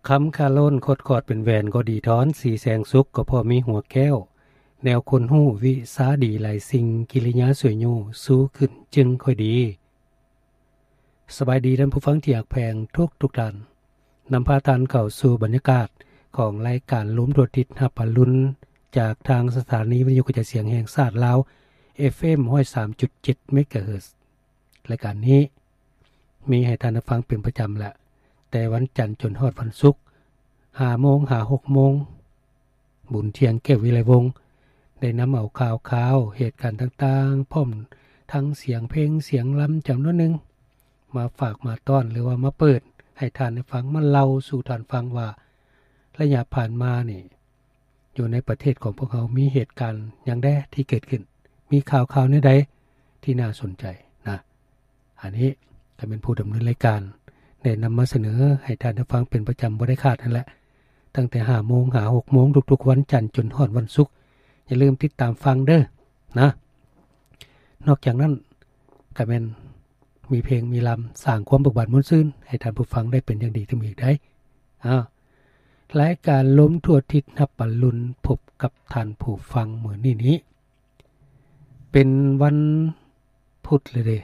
ຄຳຄາໂລນ ຄົດຄອດເປັນແຫວນກໍດີທອນ ສີແສງສຸກກໍພໍມີຫົວແກ້ວ ແນວຄົນຮູ້ວິຊາດີຫຼາຍສິ່ງ ກິລິຍາສວຍໂຍຊູຂຶ້ນຈຶ່ງຄ່ອຍດີ. ສະບາຍດີທ່ານຜູ້ຟັງທີ່ຮັກແພງທຸກໆທ່ານ, ນຳພາທ່ານເຂົ້າສູ່ບັນຍາກາດຂອງລາຍການລົມທົ່ວທິດຮັບອະລຸນ ຈາກທາງສະຖານີວິທະຍຸກະຈາຍສຽງແຫ່ງຊາດລາວ ເອຟເອັມ ຮ້ອຍສາມຈຸດເຈັດ ເມກາເຮີດ. ລາຍການນີ້ມີໃຫ້ທ່ານໄດ້ຟັງເປັນປະຈຳແຫຼະ ແຕ່ວັນຈັນຈົນຮອດວັນສຸກ ຫ້າໂມງຫາຫົກໂມງ. ບຸນທ່ຽງ ແກ້ວວິໄລວົງ ໄດ້ນຳເອົາຂ່າວຄາວ ເຫດການຕ່າງໆ ພ້ອມທັງສຽງເພງສຽງລຳຈຳນວນໜຶ່ງ ມາຝາກມາຕ້ອນ ຫຼືວ່າມາເປີດໃຫ້ທ່ານໄດ້ຟັງ ມາເລົ່າສູ່ທ່ານຟັງວ່າ ໄລຍະຜ່ານມານີ້ ຢູ່ໃນປະເທດຂອງພວກເຮົາມີເຫດການຫຍັງແດ່ທີ່ເກີດຂຶ້ນ, ມີຂ່າວຄາວແນວໃດທີ່ໜ້າສົນໃຈນະ. ອັນນີ້ກໍແມ່ນຜູ້ດຳເນີນລາຍການໄດ້ນຳມາສະເໜີໃຫ້ທ່ານໄດ້ຟັງເປັນປະຈຳບໍ່ໄດ້ຂາດຫັ້ນແຫຼະ ຕັ້ງແຕ່ຫ້າໂມງຫາຫົກໂມງທຸກໆວັນຈັນຈົນຮອດວັນສຸກ. ຢ່າລືມຕິດຕາມຟັງເດີນະ. ນອກຈາກນັ້ນກໍແມ່ນມີເພງມີລຳ ສ້າງຄວາມເບີກບານມ່ວນຊື່ນໃຫ້ທ່ານຜູ້ຟັງໄດ້ເປັນຢ່າງດີຕື່ມອີກໄດ໋. ອ້າວ ລາຍການລົມທົ່ວທິດຮັບອະລຸນ ພົບກັບທ່ານຜູ້ຟັງມື້ນີ້ນີ້ ເປັນວັນພຸດແລ້ວເດ້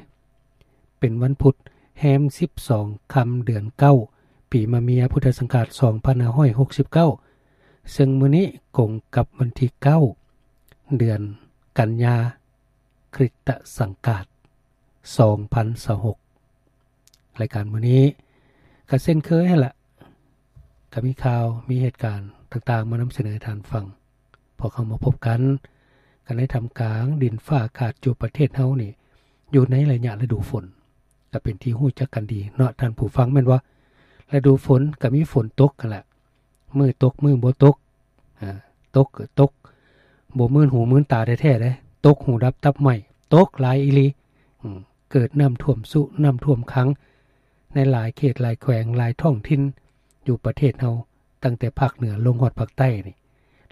ເປັນວັນພຸດ ແຮມສິບສອງຄ່ຳເດືອນເກົ້າ ປີມະເມຍ ພຸດທະສັງຄະລາດ ສອງພັນຫ້າຮ້ອຍຫົກສິບເກົ້າ ເຊິ່ງມື້ນີ້ກົງກັບວັນທີເກົ້າ ເດືອນກັນຍາ ຄຣິສຕະສັງກາດ ສອງພັນຊາວຫົກ. ລາຍການມື້ນີ້ກໍເຊັ່ນເຄີຍຫັ້ນລະ ກໍມີຂ່າວ ມີເຫດການຕ່າງໆ ມານຳສະເໜີໃຫ້ທ່ານຟັງ. ພວກເຮົາມາພົບກັນ ກັນໃນທ່າມກາງດິນຟ້າອາກາດຢູ່ປະເທດເຮົານີ້ ຢູ່ໃນໄລຍະລະດູຝົນ ກໍເປັນທີ່ຮູ້ຈັກກັນດີເນາະທ່ານຜູ້ຟັງ ແມ່ນບໍ່? ລະດູຝົນກໍມີຝົນຕົກຫັ້ນລະ ມື້ຕົກມື້ບໍ່ຕົກ ອາ ຕົກກໍຕົກ ບໍ່ມື່ນຫູມື່ນຕາແທ້ໆເດ້ ຕົກຫູດັບຕັບໄໝ້ ຕົກຫຼາຍອີ່ຫຼີ. ອືມ ເກີດນ້ຳຖ້ວມຊຸ ນ້ຳຖ້ວມຂັງ ໃນຫຼາຍເຂດຫຼາຍແຂວງ ຫຼາຍທ້ອງຖິ່ນຢູ່ປະເທດເຮົາ ຕັ້ງແຕ່ພາກເໜືອລົງຮອດພາກໃຕ້ນີ້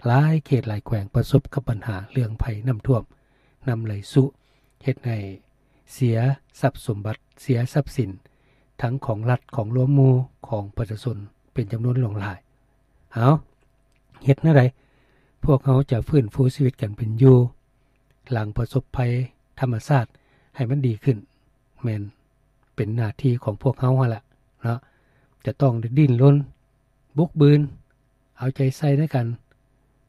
ຫຼາຍເຂດຫຼາຍແຂວງປະສົບກັບບັນຫາເລື່ອງໄພນ້ຳຖ້ວມ ນ້ຳໄຫຼຊຸ ເຮັດໃຫ້ເສຍຊັບສົມບັດ ເສຍຊັບສິນ ທັງຂອງລັດ ຂອງລວມໝູ່ ຂອງປະຊາຊົນ ເປັນຈຳນວນຫຼວງຫຼາຍ. ເອົາ ເຮັດແນວໃດ ພວກເຮົາຈະຟື້ນຟູຊີວິດການເປັນຢູ່ ຫຼັງປະສົບໄພທຳມະຊາດໃຫ້ມັນດີຂຶ້ນ ແມ່ນເປັນໜ້າທີ່ຂອງພວກເຮົາຫັ້ນລະເນາະ ຈະຕ້ອງໄດ້ດີ້ນລົນ ບຸກບືນ ເອົາໃຈໃສ່ໃນການ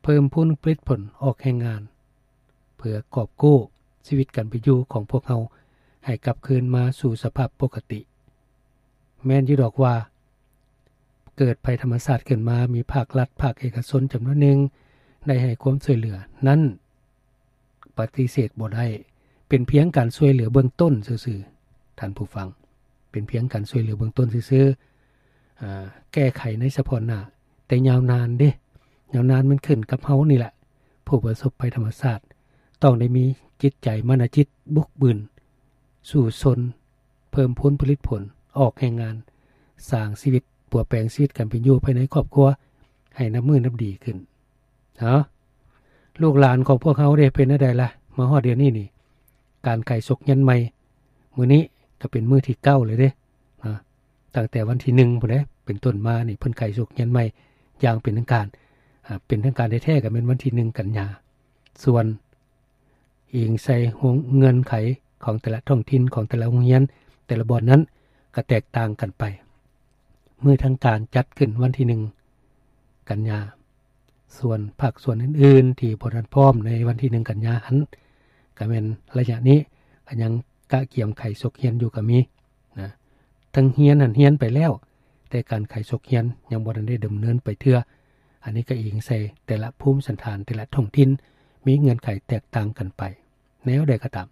ເພີ່ມພູນຜະລິດຜົນອອກແຮງງານ ເພື່ອກອບກູ້ຊີວິດການເປັນຢູ່ຂອງພວກເຮົາໃຫ້ກັບຄືນມາສູ່ສະພາບປົກກະຕິ. ແມ່ນຢູ່ດອກວ່າ ເກີດໄພທຳມະຊາດຂຶ້ນມາ ມີພາກລັດ ພາກເອກະຊົນຈຳນວນໜຶ່ງໄດ້ໃຫ້ຄວາມຊ່ວຍເຫຼືອນັ້ນ ປະຕິເສດບໍ່ໄດ້ ເປັນພຽງການຊ່ວຍເຫຼືອເບື້ອງຕົ້ນຊື່ໆ ທ່ານຜູ້ຟັງ ເປັນພຽງການຊ່ວຍເຫຼືອເບື້ອງຕົ້ນຊື່ໆ ອາ ແກ້ໄຂໃນສະເພາະໜ້າ ແຕ່ຍາວນານເດ້ ຍາວນານມັນຂຶ້ນກັບເຮົານີ້ແຫຼະ ຜູ້ປະສົບໄພທຳມະຊາດ ຕ້ອງໄດ້ມີຈິດໃຈມານະຈິດບຸກບືນ ສູ້ຊົນ ເພີ່ມພູນຜະລິດຜົນ ອອກແຮງງານ ສ້າງຊີວິດ ປົວແປງຊີວິດການເປັນຢູ່ພາຍໃນຄອບຄົວ ໃຫ້ນັບມື້ນັບດີຂຶ້ນ. ເອົາ ລູກຫຼານຂອງພວກເຮົາເດ້ ເປັນແນວໃດລະ? ມາຮອດດຽວນີ້ນີ້ ການໄຂສົກຮຽນໃໝ່ ມື້ນີ້ກໍເປັນມື້ທີເກົ້າແລ້ວເດ້ ນະ ຕັ້ງແຕ່ວັນທີໜຶ່ງພຸ້ນເດ້ ເປັນຕົ້ນມານີ້ ເພິ່ນໄຂສົກຮຽນໃໝ່ຢ່າງເປັນທາງການ ອາ ເປັນທາງການແທ້ໆ ກໍແມ່ນວັນທີໜຶ່ງກັນຍາ. ສ່ວນ ອີງໃສ່ເງື່ອນໄຂຂອງແຕ່ລະທ້ອງຖິ່ນ ຂອງແຕ່ລະໂຮງຮຽນ ແຕ່ລະບ່ອນນັ້ນກໍແຕກຕ່າງກັນໄປ. ມື້ທາງການຈັດຂຶ້ນວັນທີໜຶ່ງກັນຍາ, ສ່ວນພາກສ່ວນອື່ນໆທີ່ບໍ່ທັນພ້ອມໃນວັນທີໜຶ່ງກັນຍາຫັ້ນ ກໍແມ່ນໄລຍະນີ້ກໍຍັງກະກຽມໄຂສົກຮຽນຢູ່ກໍມີນະ. ທັງຮຽນຫັ້ນຮຽນໄປແລ້ວ ແຕ່ການໄຂສົກຮຽນຍັງບໍ່ທັນໄດ້ດຳເນີນໄປເທື່ອ. ອັນນີ້ກໍອີງໃສ່ແຕ່ລະພູມສັນຖານ ແຕ່ລະທ້ອງຖິ່ນມີເງື່ອນໄຂແຕກຕ່າງກັນໄປ. ແນວໃດກໍຕາມ,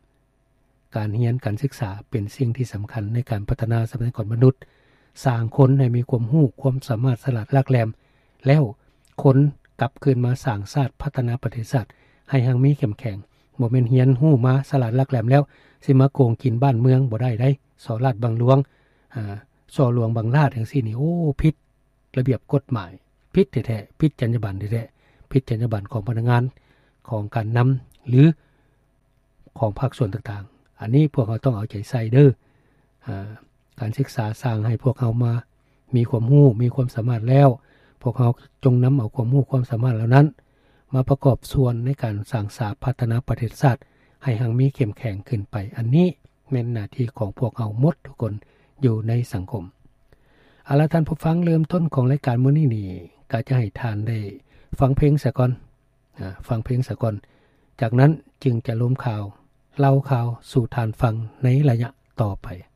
ການຮຽນການສຶກສາເປັນສິ່ງທີ່ສຳຄັນໃນການພັດທະນາຊັບພະຍາກອນມະນຸດ, ສ້າງຄົນໃຫ້ມີຄວາມຮູ້ຄວາມສາມາດສະຫຼາດຫຼາກແຫຼມ, ແລ້ວຄົນກັບຄືນມາສ້າງຊາດ ພັດທະນາປະເທດຊາດໃຫ້ຮັ່ງມີເຂັ້ມແຂງ. ບໍ່ແມ່ນຮຽນຮູ້ມາສະຫຼາດຫຼັກແຫຼມແລ້ວ ຊິມາໂກງກິນບ້ານເມືອງບໍ່ໄດ້ໃດ໋. ສໍ້ລາດບັງຫຼວງ ອາ ສໍ້ຫຼວງບັງລາດຈັ່ງຊີ້ນີ້ ໂອ້ ຜິດລະບຽບກົດໝາຍ, ຜິດແທ້ໆ, ຜິດຈັນຍາບັນແທ້ໆ, ຜິດຈັນຍາບັນຂອງພະນັກງານ, ຂອງການນຳ ຫຼື ຂອງພາກສ່ວນຕ່າງໆ. ອັນນີ້ພວກເຮົາຕ້ອງເອົາໃຈໃສ່ເດີ. ອາ ການສຶກສາສ້າງໃຫ້ພວກເຮົາມາ ມີຄວາມຮູ້ ມີຄວາມສາມາດແລ້ວ ພວກເຮົາຈົ່ງນຳເອົາຄວາມຮູ້ຄວາມສາມາດເຫຼົ່ານັ້ນ ມາປະກອບສ່ວນໃນການສ້າງສາພັດທະນາປະເທດຊາດ ໃຫ້ຮັ່ງມີເຂັ້ມແຂງຂຶ້ນໄປ. ອັນນີ້ແມ່ນໜ້າທີ່ຂອງພວກເຮົາໝົດທຸກຄົນຢູ່ໃນສັງຄົມ. ເອົາລະ ທ່ານຜູ້ຟັງ, ເລີ່ມຕົ້ນຂອງລາຍການມື້ນີ້ນີ້ ກໍຈະໃຫ້ທ່ານໄດ້ຟັງເພງສາກ່ອນ, ອາ, ຟັງເພງສາກ່ອນ, ຈາກນັ້ນຈຶ່ງຈະລົມຂ່າວ, ເລົ່າຂ່າວສູ່ທ່ານຟັງໃນໄລຍະຕໍ່ໄປ.